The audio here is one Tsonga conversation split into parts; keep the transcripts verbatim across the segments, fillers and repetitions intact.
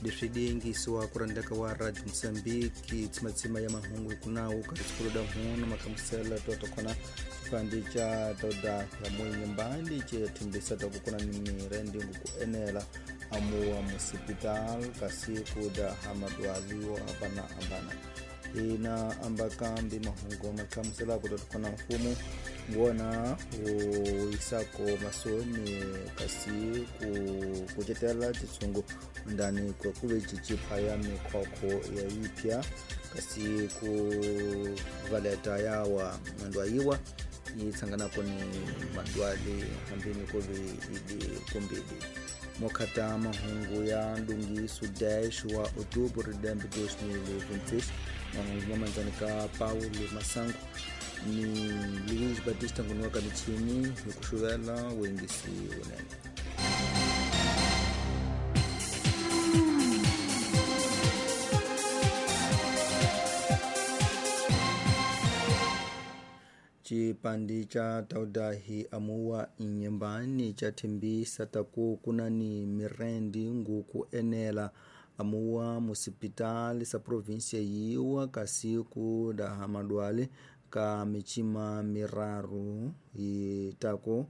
Leswi diyingisiwa ku rhandeka wa Radio Mozambique tsimatsima ya mahungu kunawu ka tsikulu da hunu makamusela toto kona xipandi xa toda ya muinyumbani ce thembisa ta ku kuna ni mirendi ku enela amuwa musipital kasi ku da hamadwali wo hambana hambana ina ambakambi mahungu makamusela ku toto kona mfumo ngona u isako masoni kasi ku kucetela titsungu ndani kwa kuve chichipa ya mikhokho ya ipya kasi ku valeta yawa mandwayiwa yitsanganako ni madwali hambini kuve idi kumbidi mokhata mahungu ya ndungiso dash wa outubro de dois mil e vinte e seis mahungu mamanzani ka Paulo Masango ni Luiz Batista ngunuka michini hi ku xuvela wengisi unene. Chipandi cha taudahi amuwa inyembani cha thembisa taku kuna ni mirendi nguku enela amuwa musipitali sa província yiwa kasi ku da hamadwale ka michima miraru itako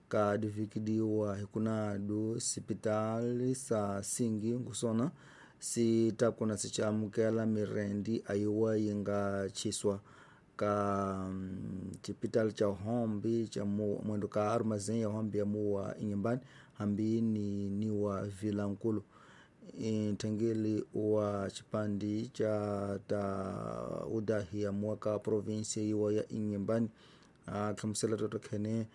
ka divikidiwa hikunadu sipitali sa singi ngusona sitako na sichamukela mirendi ayiwa yinga chiswa ka chipitali cha hombi cha mwendo ka armazém ya hombi ya muwa inyembani hambi ni niwa vilankulu ntengeli wa chipandi cha ta udahi ya mwaka provinsia iwa ya inyembani akhamusela toto khene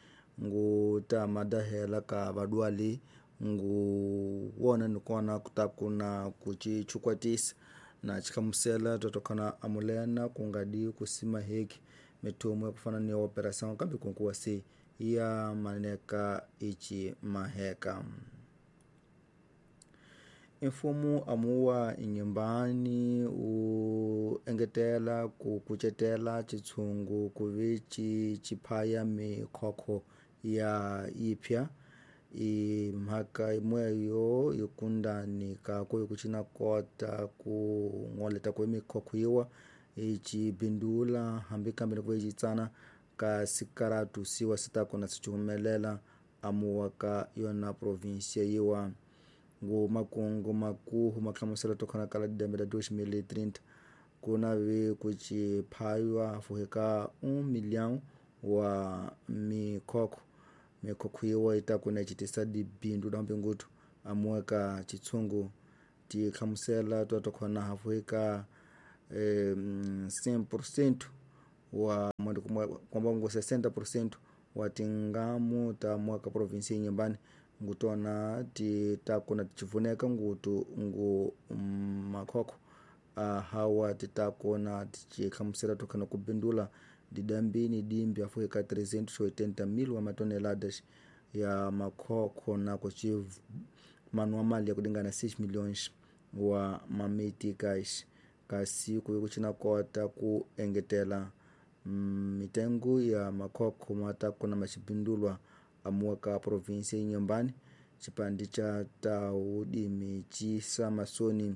ngu ta madahela ka badwali ngu wona nikona kutakuna kuchichukwatisa na chikhamusela toto khana amulena kungadi kusima heki mitumo ya kufana ni operação kambi kunkuwa si ya maneka ichi maheka. Mfumo amuwa inyumbani u engetela ku kucetela chitsungu kuve chi chiphaya mikhokho ya ipya i mhaka imweyo yikundani kako ikucina kota ku ng'oleta kwe mikhokho yiwa ichibindula hambi kambe ni kuve chitsana ka sikaratu siwa sitako na sichuhumelela amuwa ka yona província yiwa ngu makungu makuhu mahlamusela tokhona kala dembe la dois mil e trinta kuna ve kuchiphaywa fuheka um milhão wa mikhokho mikhokho yiwa itakuna ichitisa dibindu la mpingutu amuweka chitsungu tikhamusela twatokhona hafuheka eh, cem por cento wa mwendo kwamba ngu sessenta por cento wa tingamu ta mwaka província inyumbani ngutona titakuna tichivuneka ngutu ngu makhokho uh, hawa titakona tichikhamusela tokhana kubindula didambini dimbi afuika trezentos e oitenta mil wa matoneladas ya makhokho na kuchi manwa mali ya kudingana seis milhões wa mameticais kasi kuve kuchina kota ku engetela mitengo ya makhokho matakona machibindulwa amuwaka província inyumbani chipandi cha taudimi chisa masoni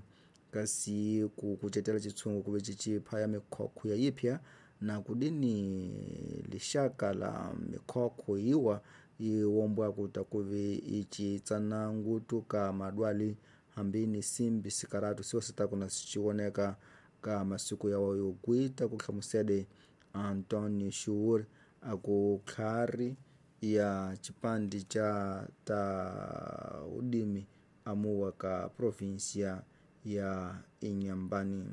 kasi kukucetela chitsungu kuve chichiphaya mikhokho ya yipya na kudini lixaka la mikhokho yiwa iwombwa kuta kuve ichitsana ngutu ka madwali hambini simbi sikaratu siwo sitakuna sichiwoneka ka masiku yawo yokwita kuhlamusele Antonio Shuur akukhari ya chipandi cha ta udimi amuwa ka província ya Inhambane.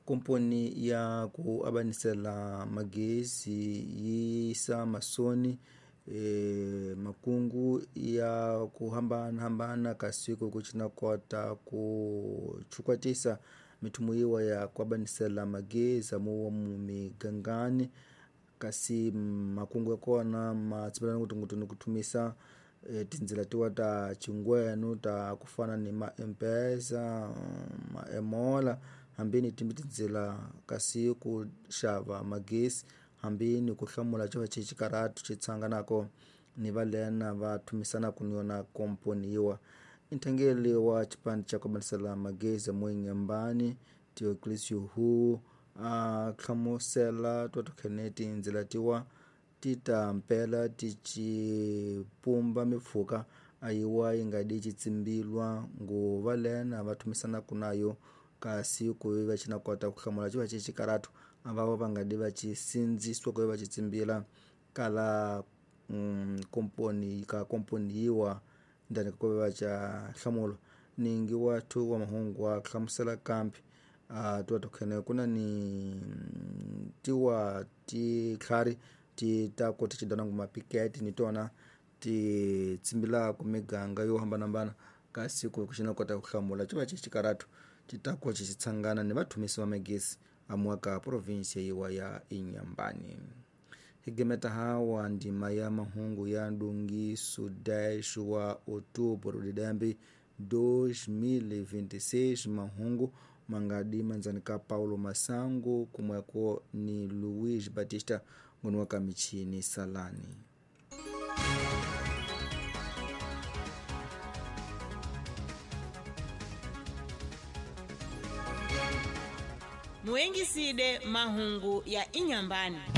Komponi ya ku abanisela magesi yisa masoni e, makungu ya kuhambana hambana kasiku kuchina kota kuchukwatisa mithumu yiwa ya kuabanisela magezi amuwa mumigangani kasi makungu ya kona matsipelana kuti ngutu nikuthumisa e, tindzila tiwa ta chingwenu ta kufana ni ma M-Pesa ma Emola hambini timbi tindzila kasi ku xava magezi hambini ku hlamula xo xi xikaratu xi tsanganako ni valena va thumisanaka ni yona komponi yiwa Nthangeli wa chipande cha kubanisela magezi mu Inhambane Dioclésio Hu a hlamusela twatokhene tindzila tiwa ti ta mpela ti ci pumba mipfhuka ayiwa yi nga di ci tsimbilwa nguva lena va thumisanaka nayo kasi ku va ci na kota ku hlamula ci va ci xikaratu a va va nga di va ci sindzisiwa ku va ci tsimbila kala mm, komponi ka komponi yiwa ndani ka ku va ca nhlamulo ningi wa thu wa mahungu wa hlamusela kambe a tiwa tokhene ku na ni tiwa titlhari ti ta ku ti cidana nguma pikete ni tona ti tsimbilaka miganga yo hambanahambana kasi ku xi na kota ku hlamula ci va ci xikaratu ti ta ku ci tshangana ni vathumisi va magezi amuwa ka provinsi yiwa ya Inhambane. Hi gimeta hawa ndima ya mahungu ya ndungiso dez wa outubro de dembe dois mil e vinte e seis mahungu mangadi manzani ka Paulo Masango kumweko ni Luiz Batista ngoni wa kamichini salani. Muengiside mahungu ya Inhambane.